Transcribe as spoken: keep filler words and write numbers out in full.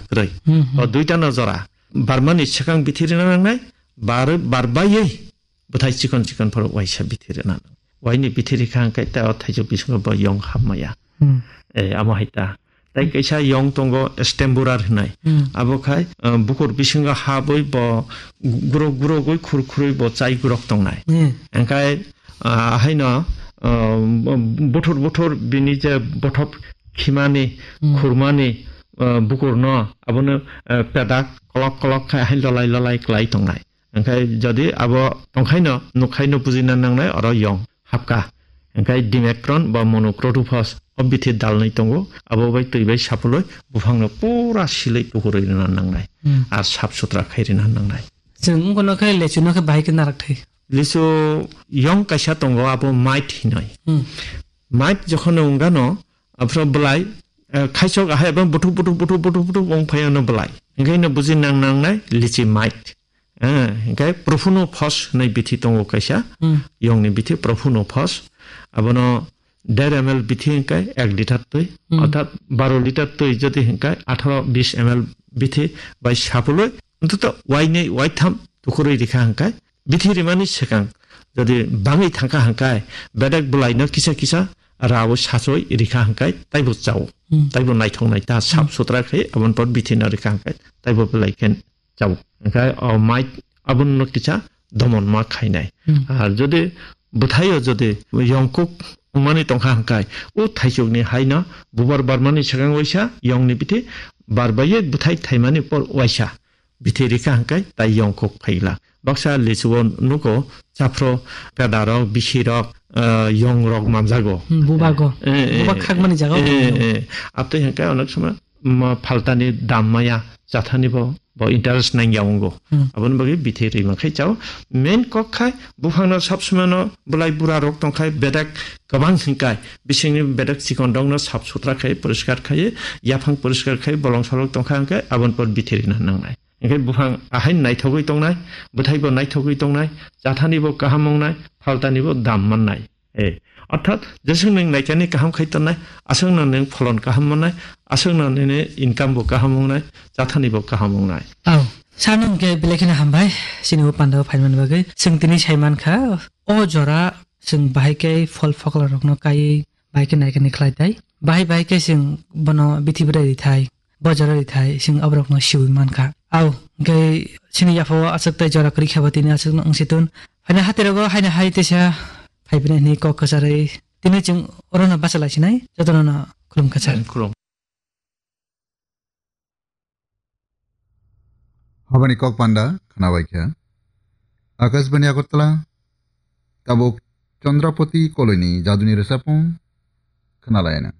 kwrwi. Hmm, hmm. O duita no jora. Barmani swkang bithi rina nangnai, bar, bar baiwi bwthai chikon chikon phoro waisa bithi rina nang. Waini bithi rikha hwnkhe ta o thaichuk bisingo bo yong hapmaya. Hmm. Eh, amo hai ta. Tai kaisa yong tongo stemburar hinai. Hmm. Abo khai, eh, bukur bisingo habwi bo gurok gurogwi khur khurwi bo chai gurok tongnai. Hmm. Hwnkhe, ah, haino, ah, buthur buthur bini je bothop khimani, Hmm. khurmani, ah, bukurno abono, ah, pedak kolok kolok khai hai lolai lolai klai tongnai. Hwnkhe jodi abo tongkhaino, nukhaino bujina nangnai oro yong hapka. Hwnkhe dimecron ba monocrotophos o bithi dalnwi tongo, abo bai twi bai sapulwi buphangno pura silwi tukurwi rina nangnai. Hmm. Ar sap sutra khai rina nangnai. Chwng wngkha no khe lechu no khe bahai khe narak thai. Lisu yong kaisa tongo abo mait hinoi. Hmm. Mait jokhon wngano, aphro belai, eh, khaisok ahai abo buthuk buthuk buthuk buthuk buthuk wng phai ano belai. Hwnkhe no buji nang nangnai lichi mait. Eh, hwnkhe Profunophos hinui bithi tongo kaisa. Hmm. Yongni bithi Profunophos. Abono der M L bithi hwnkhe ek liter twi, Hmm. orthat baro liter twi jodi hwnkhe atharo bis M L bithi bai sapulwi, ontoto wainwi waitham tukurwi rikha hwnkhe, bithi rimani swkang jodi bangwi thangkha hwnkhe, bedek bwlaino kisa kisa rao sachoi rikha hwnkhe, taibo chao. Hmm. Taibo naithok naita sap Hmm. sutra khai aboni por bithi no rikha hwnkhe, taibo belai khe chao. Hwnkhe o mait abono kisa domon ma khainai. Hmm. Ar jodi bwthaio jodi yongkuk wngmani tongkha hwnkhe, o thaichukni haino bubar barmani swkang waisa yongni bithi bar baiye bwthai thaimani por waisa bithi rikha hwnkhe tai yongkuk phaila. Baksa lichuo nugo chaphro pedarok, bisirok, ah, yongrok manjago. Hmm, bubago. Eh, eh, Bubak eh, khakmani jaga eh, eh, eh. Abtwi hwnkhe onek somoi ma phaltani dam maya chathani bo, bo interest nangya wngo. Hmm. Aboni bagwi bithi rima khai chao. Main kok khai buphangno sab somoi no bwlai bura rok tong khai bedak kwbang hwnkhe bisingni bedak chikon rokno sap sutra khai poriskar khai yaphang poriskar khai bolong solok tong kha hwnkhe aboni por bithi rina nangnai. Hwnkhe buphang ahai naithogwi tongnai, bwthai bo naithogwi tongnai, chathani bo kaham wngnai, phaltani bo dam mannai. Eh, orthat, jeswk nwng naikani kaham khai tonnai, aswkno nwng pholon kaham mannai, aswkno nini income bo kaham wngnai, chathani bo kaham wngnai. Au, sano hwnkhe belai kheno hambai, chini o pandao phaimani bagwi. Chwng tini saimankha, o jora chwng bahai khe phol phokla rokno kaiwi bahai khe naikani khlai tai. Bahai bahai khe chwng bono bithi bwrai rithai, bojaro rithai, chwng aborokno siwi mankha. Au, hwnkhe chini yaphao aswk tai jora kwrwi khe bo tini aswkno wngsi tun. Haino haterogo haino hai teisa phaiphini hwnwi kok kwcharwi tini chwng orono bacha laisinai, jotono no khulum kwchar. Khulum. Habani kok panda khnabai kha. Akashbani Agartala, tabuk Chandrapati Koloini jaduni rwchapmung khnalayana.